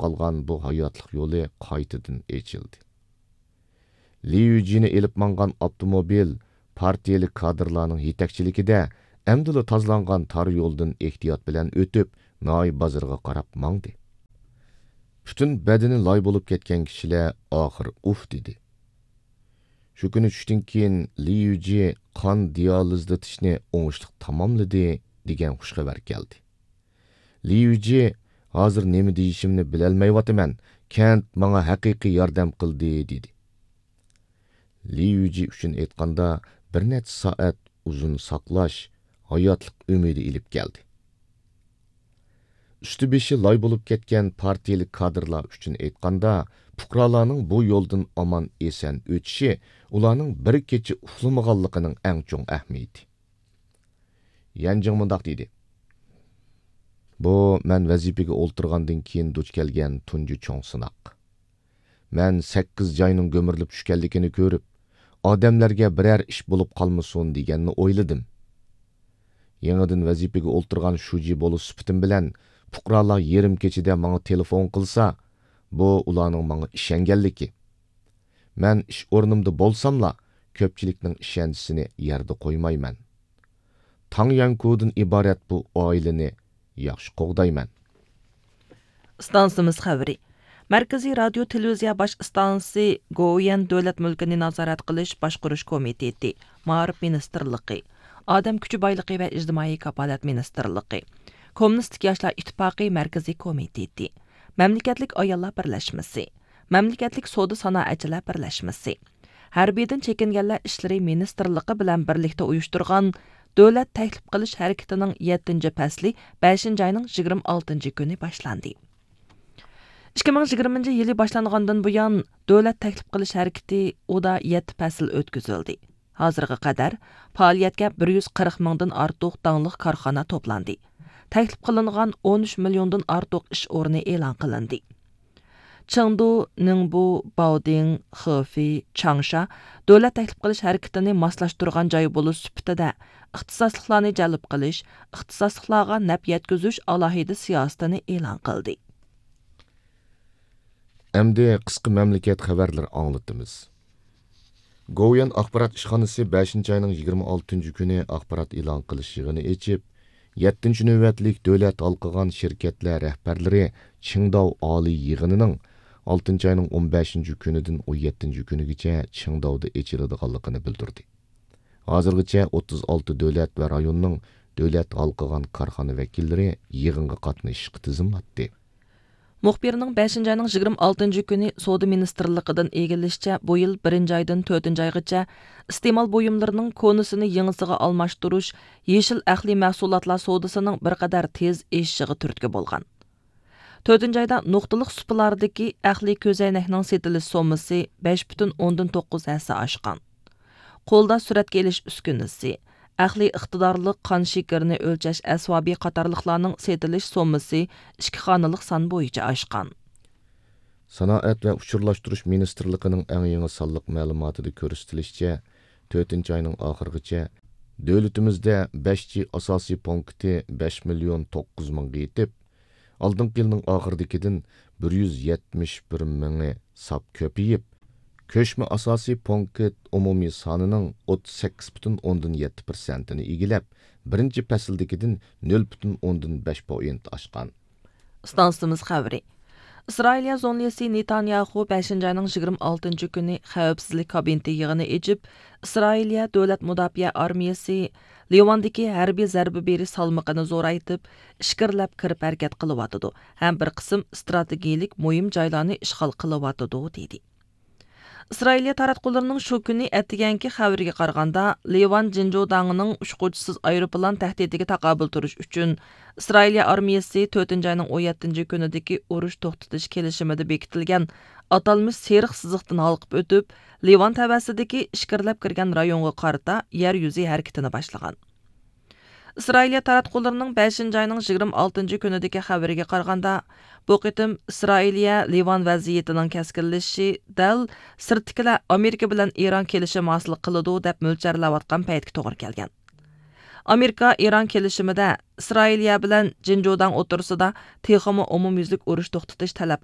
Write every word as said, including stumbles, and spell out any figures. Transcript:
قالغان بۇ ھاياتلىق يولى قايتىدىن ئېچىلدى. لى يۈجىنى ئېلىپ ماڭغان ئاپتوموبىل پارتىيىلىك كادىرلارنىڭ يېتەكچىلىكىدە ئەمدىلا تازىلانغان تار يولدىن ئېھتىيات بىلەن ئۆتۈپ، ناھىيە بازىرىغا قاراپ ماڭدى. پۈتۈن بەدىنى لاي بولۇپ كەتكەن كىشىلەر ئاخىر ئۇھ دېدى. شۇ كۈنى چۈشتىن كېيىن لى يۈجى قان دىيالىزلىتىشنى ئوڭۇشلۇق تاماملىدى، دېگەن خۇش خەۋەر كەلدى. لى يۈجى، ھازىر نېمە دېيىشىمنى بىلەلمەيۋاتىمەن، كەنت ماڭا ھەقىقىي ياردەم قىلدى، دېدى. لى يۈجى ئۈچۈن ئېيتقاندا، بىر نەچچە سائەت ئۇزۇن ساقلاش ھاياتلىق ئۈمىدى ئېلىپ كەلدى. ئۈستى بېشى لاي بولۇپ كەتكەن پارتىيىلىك كادىرلار ئۈچۈن ئېيتقاندا، پۇقرالارنىڭ بۇ يولدىن ئامان ئېسەن ئۆتۈشى ئۇلارنىڭ بىر كېچە ئۇخلىمىغانلىقىنىڭ ئەڭ چوڭ ئەھمىيىتى. يەنجىڭ مۇنداق دېدى: بۇ مەن ۋەزىپىگە ئولتۇرغاندىن كېيىن دۇچ كەلگەن تۇنجى چوڭ سىناق. مەن سەككىز جاينىڭ گۈمۈرۈلۈپ چۈشكەنلىكىنى كۆرۈپ، ئادەملەرگە بىرەر ئىش بولۇپ قالمىسۇن دېگەننى ئويلىدىم. يېڭىدىن ۋەزىپىگە ئولتۇرغان شۇجى بولۇش سۈپىتىم بىلەن پۇقرالار يېرىم كېچىدە ماڭا تېلېفون قىلسا، بۇ ئۇلارنىڭ ماڭا ئىشەنگەنلىكى. مەن ئىش ئورنۇمدا بولساملا، كۆپچىلىكنىڭ ئىشەنچىسىنى يەردە قويمايمەن. تاڭ يەنكۇدىن ئىبارەت بۇ ئائىلىنى ياخشى قوغدايمەن. ئىستانسىمىز خەۋىرى. مەركىزىي رادىيو تېلېۋىزىيە باش ئىستانسىسى گوۋۇيۈەن دۆلەت مۈلكىنى نازارەت قىلىش باشقۇرۇش كومىتېتى، مائارىپ مىنىستىرلىقى، ئادەم كۈچى بايلىقى ۋە ئىجتىمائىي كاپالەت مىنىستىرلىقى، كوممۇنىستىك ياشلار ئىتتىپاقى مەركىزىي كومىتېتى، مەملىكەتلىك ئاياللار بىرلەشمىسى، مەملىكەتلىك سودا سانائەتچىلەر بىرلەشمىسى، ھەربىيدىن چېكىنگەنلەر ئىشلىرى مىنىستىرلىقى بىلەن بىرلىكتە ئۇيۇشتۇرغان دۆلەت تەكلىپ قىلىش ھەرىكىتىنىڭ يەتتىنچى پەسلى بەشىنچى ئاينىڭ يىگىرمە ئالتىنچى كۈنى باشلاندى. ئىككى مىڭ يىگىرمىنچى يىلى باشلانغاندىن بۇيان، دۆلەت تەكلىپ قىلىش ھەرىكىتى ئۇدا يەتتە پەسىل ئۆتكۈزۈلدى. ھازىرغا قەدەر پائالىيەتكە بىر يۈز قىرىق مىڭدىن ئارتۇق داڭلىق كارخانا توپلاندى. تەكلىپ قىلىنغان ئون ئۈچ مىليوندىن ئارتۇق ئىش ئورنى ئېلان قىلىندى. چېڭدۇ، نىڭبۇ، باۋدىڭ، خېفېي، چاڭشا دۆلەت تەكلىپ قىلىش ھەرىكىتىنى ماسلاشتۇرغان جاي بولۇش سۈپىتىدە، ئىختىساسلىقلارنى جەلپ قىلىش، ئىختىساسلىقلارغا نەپ يەتكۈزۈش ئالاھىدە سىياسىتىنى ئېلان قىلدى. ئەمدى قىسقا مەملىكەت خەۋەرلىرى ئاڭلىتىمىز. گوۋۇيۈەن ئاخبارات ئىشخانىسى بەشىنچى ئاينىڭ يىگىرمە ئالتىنچى كۈنى ئاخبارات ئېلان قىلىش يىغىنى ئېچىپ، يەتتىنچى نۆۋەتلىك دۆلەت ھالقىغان شىركەتلەر رەھبەرلىرى چىڭداۋ ئالىي يىغىنىنىڭ ئالتىنچى ئاينىڭ ئون بەشىنچى كۈنىدىن ئون يەتتىنچى كۈنىگىچە چىڭداۋدا ئېچىلىدىغانلىقىنى بىلدۈردى. ھازىرغىچە ئوتتۇز ئالتە دۆلەت ۋە رايوننىڭ دۆلەت ھالقىغان كارخانا ۋەكىللىرى يىغىنغا قاتنىشىشقا تىزىملاتتى. مۇخبىرنىڭ بەشىنچى ئاينىڭ يىگىرمە ئالتىنچى كۈنى سودا مىنىستىرلىقىدىن ئىگىلىشىچە، بۇ يىل بىرىنچى ئايدىن تۆتىنچى ئايغىچە ئىستېمال بۇيۇملىرىنىڭ كونىسىنى يېڭىسىغا ئالماشتۇرۇش، يېشىل ئەقلىي مەھسۇلاتلار سودىسىنىڭ بىر قەدەر تېز ئېشىشىغا تۈرتكە بولغان. تۆتىنچى ئايدا نۇقتىلىق سۇپىلاردىكى ئەقلىي كۆزەينەكنىڭ سېتىلىش سوممىسى بەش پۈتۈن ئوندىن توققۇز ھەسسە ئاشقان. قولدا سۈرەتكە ئېلىش ئۈسكۈنىسى، ئەقلىي ئىقتىدارلىق قان شېكىرىنى ئۆلچەش ئەسۋابى قاتارلىقلارنىڭ سېتىلىش سوممىسى ئىككى خانىلىق سان بويىچە ئاشقان. سانائەت ۋە ئۇچۇرلاشتۇرۇش مىنىستىرلىقىنىڭ ئەڭ يېڭى سانلىق مەلۇماتىدا كۆرسىتىلىشىچە، تۆتىنچى ئاينىڭ ئاخىرىغىچە دۆلىتىمىزدە بەش جى ئاساسىي پونكىتى بەش مىليون توققۇز مىڭغا يېتىپ، ئالدىنقى يىلنىڭ ئاخىرىدىكىدىن بىر يۈز يەتمىش بىر مىڭى ساپ كۆپىيىپ، كۆچمە ئاساسىي پونكىت ئومۇمىي سانىنىڭ ئوتتۇز سەككىز پۈتۈن ئوندىن يەتتە پىرسەنتىنى ئىگىلەپ، بىرىنچى پەسىلدىكىدىن نۆل پۈتۈن ئوندىن بەش پوينت ئاشقان. ئىستانسىمىز خەۋىرى. ئىسرائىلىيە زۇڭلىسى نېتانياخۇ بەشىنچى ئاينىڭ يىگىرمە ئالتىنچى كۈنى خەۋپسىزلىك كابىنېتى يىغىنى ئېچىپ، ئىسرائىلىيە دۆلەت مۇداپىئە ئارمىيەسى لىۋاندىكى ھەربىي زەربە بېرىش سالمىقىنى زورايتىپ، ئىچكىرىلەپ كىرىپ ھەرىكەت قىلىۋاتىدۇ ھەم بىر قىسىم ئىستراتېگىيىلىك مۇھىم جايلارنى ئىشغال قىلىۋاتىدۇ، دېدى. ئىسرائىلىيە تاراتقۇلىرىنىڭ شۇ كۈنى ئەتىگەنكى خەۋىرىگە قارىغاندا، لىۋان جىنجۇداڭىنىڭ ئۇچقۇچىسىز ئايروپىلان تەھدىتىگە تاقابىل تۇرۇش ئۈچۈن، ئىسرائىلىيە ئارمىيەسى تۆتىنچى ئاينىڭ ئون يەتتىنچى كۈنىدىكى ئۇرۇش توختىتىش كېلىشىمىدە بېكىتىلگەن ئاتالمىش سېرىق سىزىقتىن ھالقىپ ئۆتۈپ، لىۋان تەۋەسىدىكى ئىچكىرىلەپ كىرگەن رايونغا قارىتا يەر يۈزى ھەرىكىتىنى باشلىغان. ئىسرائىلىيە تاراتقۇلىرىنىڭ بەشىنچى ئاينىڭ يىگىرمە ئالتىنچى كۈنىدىكى خەۋىرىگە قارىغاندا، بۇ قېتىم ئىسرائىلىيە لىۋان ۋەزىيىتىنىڭ كەسكىنلىشىشى دەل سىرتتىكىلەر ئامېرىكا بىلەن ئىران كېلىشىمى ھاسىل قىلىدۇ، دەپ مۆلچەرلەۋاتقان پەيتكە توغرا كەلگەن. ئامېرىكا ئىران كېلىشىمىدە ئىسرائىلىيە بىلەن جىنجۇداڭ ئوتتۇرىسىدا تېخىمۇ ئومۇميۈزلۈك ئۇرۇش توختىتىش تەلەپ